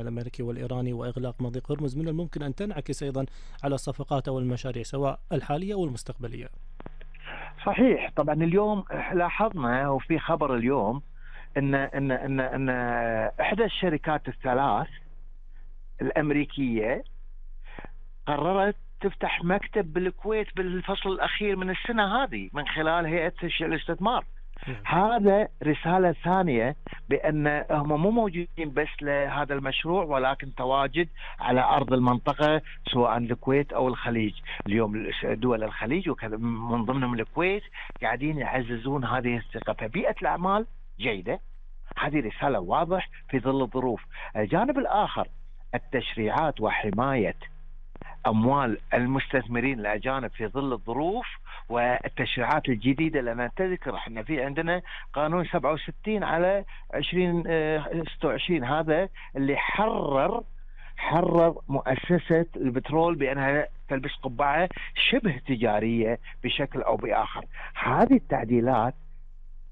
الأمريكي والإيراني وإغلاق مضيق هرمز من الممكن أن تنعكس أيضا على الصفقات أو المشاريع سواء الحالية أو المستقبلية. صحيح. طبعا اليوم لاحظنا وفي خبر اليوم ان احدى الشركات الثلاث الامريكيه قررت تفتح مكتب بالكويت بالفصل الاخير من السنه هذه من خلال هيئه الاستثمار. هذا رسالة ثانية بأن هم مو موجودين بس لهذا المشروع ولكن تواجد على أرض المنطقة سواء الكويت أو الخليج. اليوم دول الخليج وكذا من ضمنهم الكويت قاعدين يعززون هذه الثقة، فبيئة الأعمال جيدة. هذه رسالة واضح في ظل الظروف. الجانب الآخر التشريعات وحماية أموال المستثمرين الأجانب في ظل الظروف والتشريعات الجديدة. لأن تذكر احنا في عندنا قانون 67 على 2026 هذا اللي حرر مؤسسة البترول بأنها تلبس قبعة شبه تجارية بشكل أو بآخر. هذه التعديلات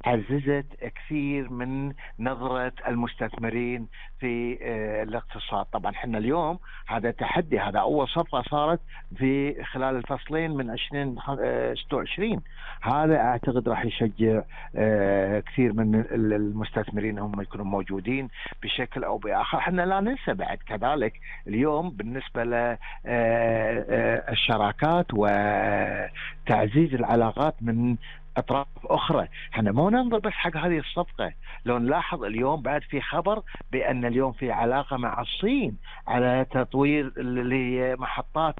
عززت كثير من نظرة المستثمرين في الاقتصاد. طبعا احنا اليوم هذا تحدي، هذا أول صفقة صارت في خلال الفصلين من 2026. هذا أعتقد راح يشجع كثير من المستثمرين هم يكونوا موجودين بشكل أو بآخر. احنا لا ننسى بعد كذلك اليوم بالنسبة للشراكات وتعزيز العلاقات من أطراف أخرى. احنا مو ننظر بس حق هذه الصفقة، لو نلاحظ اليوم بعد في خبر بأن اليوم في علاقة مع الصين على تطوير لمحطات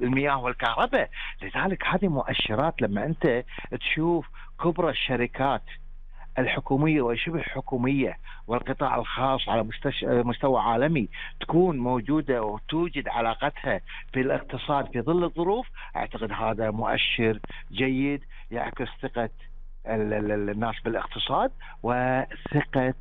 المياه والكهرباء. لذلك هذه مؤشرات لما أنت تشوف كبرى الشركات الحكومية وشبه حكومية والقطاع الخاص على مستوى عالمي تكون موجودة وتوجد علاقتها في الاقتصاد في ظل الظروف، أعتقد هذا مؤشر جيد يعكس ثقة الناس بالاقتصاد وثقة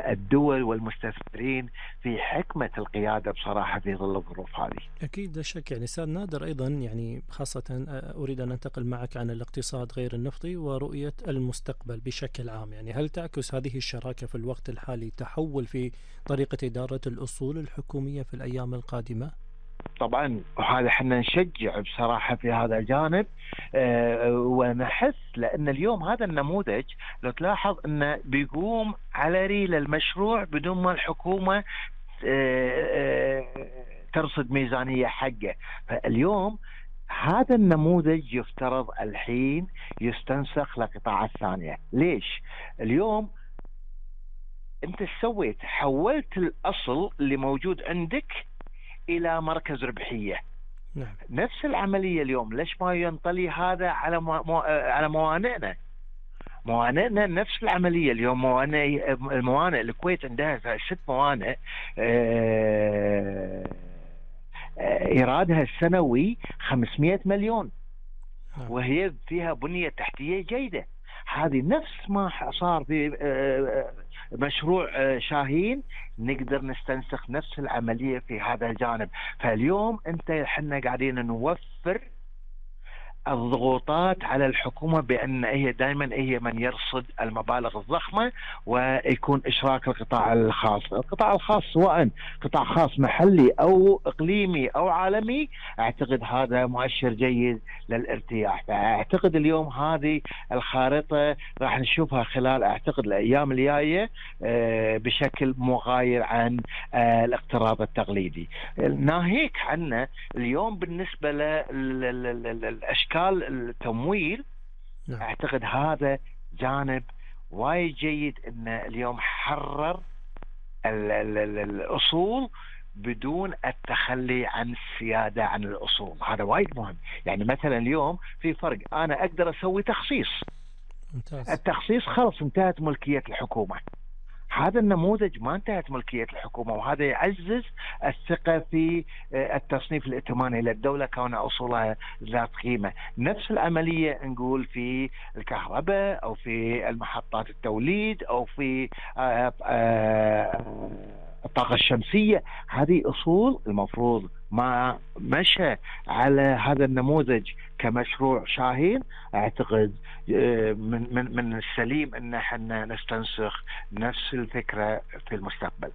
الدول والمستثمرين في حكمة القيادة بصراحة في ظل الظروف هذه. أكيد لا شك. يعني أستاذ نادر أيضا يعني خاصة أريد أن أنتقل معك عن الاقتصاد غير النفطي ورؤية المستقبل بشكل عام. يعني هل تعكس هذه الشراكة في الوقت الحالي تحول في طريقة إدارة الأصول الحكومية في الأيام القادمة؟ طبعا وهذا احنا نشجع بصراحة في هذا الجانب ونحس، لأن اليوم هذا النموذج لو تلاحظ أنه بيقوم على ريل المشروع بدون ما الحكومة ترصد ميزانية حقه. فاليوم هذا النموذج يفترض الحين يستنسخ لقطاع الثانية. ليش؟ اليوم أنت سويت حولت الأصل اللي موجود عندك إلى مركز ربحية. نعم. نفس العملية اليوم ليش ما ينطلي هذا على موانئنا؟ موانئنا نفس العملية اليوم. الموانئ الكويت عندها 6 موانئ إيرادها السنوي 500 مليون وهي فيها بنية تحتية جيدة. هذه نفس ما صار في مشروع شاهين، نقدر نستنسخ نفس العملية في هذا الجانب. فاليوم احنا قاعدين نوفر الضغوطات على الحكومة بأن هي دائما هي من يرصد المبالغ الضخمة ويكون إشراك القطاع الخاص. القطاع الخاص سواء قطاع خاص محلي أو إقليمي أو عالمي، أعتقد هذا مؤشر جيد للارتياح. فأعتقد اليوم هذه الخارطة راح نشوفها خلال أعتقد الأيام الجاية بشكل مغاير عن الاقتراض التقليدي. ناهيك عنه اليوم بالنسبة للأشكال التمويل، أعتقد هذا جانب وايد جيد إن اليوم حرر الأصول بدون التخلي عن السيادة عن الأصول. هذا وايد مهم. يعني مثلا اليوم في فرق، أنا أقدر أسوي تخصيص. ممتاز. التخصيص خلص انتهت ملكية الحكومة. هذا النموذج ما انتهت ملكية الحكومة، وهذا يعزز الثقة في التصنيف الائتماني للدولة كون أصولها ذات قيمة. نفس العملية نقول في الكهرباء أو في المحطات التوليد أو في الطاقة الشمسية. هذه أصول المفروض ما مشى على هذا النموذج كمشروع شاهين. أعتقد من السليم أن احنا نستنسخ نفس الفكرة في المستقبل.